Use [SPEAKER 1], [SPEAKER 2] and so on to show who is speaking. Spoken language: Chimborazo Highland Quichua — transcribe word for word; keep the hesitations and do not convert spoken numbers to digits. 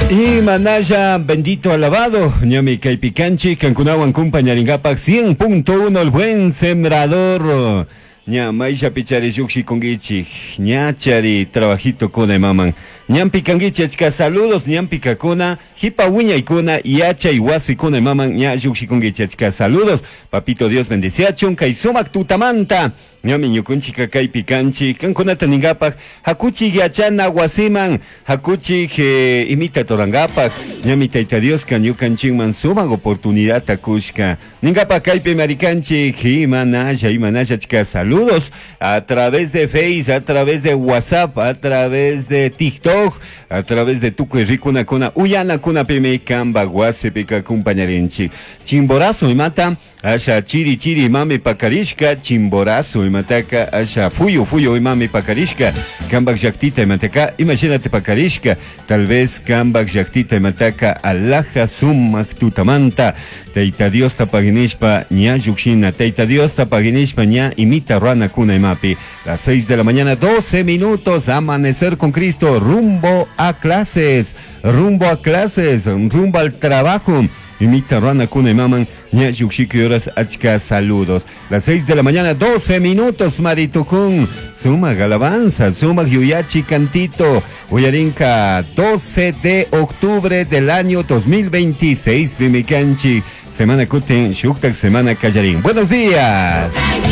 [SPEAKER 1] Y manalla bendito alabado, ñami kaypi kanchik, kankunawan kumpañarinkapak cien punto uno, El Buen Sembrador. Ña mayllapi chari llukshikunkichik, ña chari trabajito kuna imaman. Ñampi kankichik, achka saludos ñampi kakuna, hipa wiñaykuna, yachay wasikuna imaman ña llukshikunkichik, achka saludos. Papito Dios bendiciachun kay sumak tutamanta. Ñami ñukunchika kaypi kanchik, kankunata ninkapak, hakuchik yachana wasiman, hakuchik eh, imita rurankapak, ñami Tayta Dioska ñukanchikman sumak oportunidad kushka. Ninkapak kaypi marikanchik, imanalla, imanalla, achka saludos a través de Face, a través de WhatsApp, a través de TikTok, a través de tukuy rikunakuna, uyanakuna pimi kamba wasipika acompañarinchik. Chimborazo imata, asha chiri chiri imami pakarishka, Chimborazo imataka, asha fuyu fuyu imami pakarishka, kambak llaktita imataka, imagínate pakarishka, tal vez kambak llaktita imataka alaja sumak tutamanta, Tayta Diosta paginishpa ña llukshina, Tayta Diosta paginishpa ña imita ruranakuna imapi. Las seis de la mañana, doce minutos, amanecer con Cristo, rumbo a clases, rumbo a clases, rumbo al trabajo. Imita ruranakuna imaman, ña llukshiki horas, achka saludos. Las seis de la mañana, doce minutos, Maritukun. Sumak alabanza, sumak yuyachi cantito. Uyarinka, doce de octubre del año dos mil veintiséis, pimi kanchik. Semana kutin, shuktak semana kallarin. Buenos días.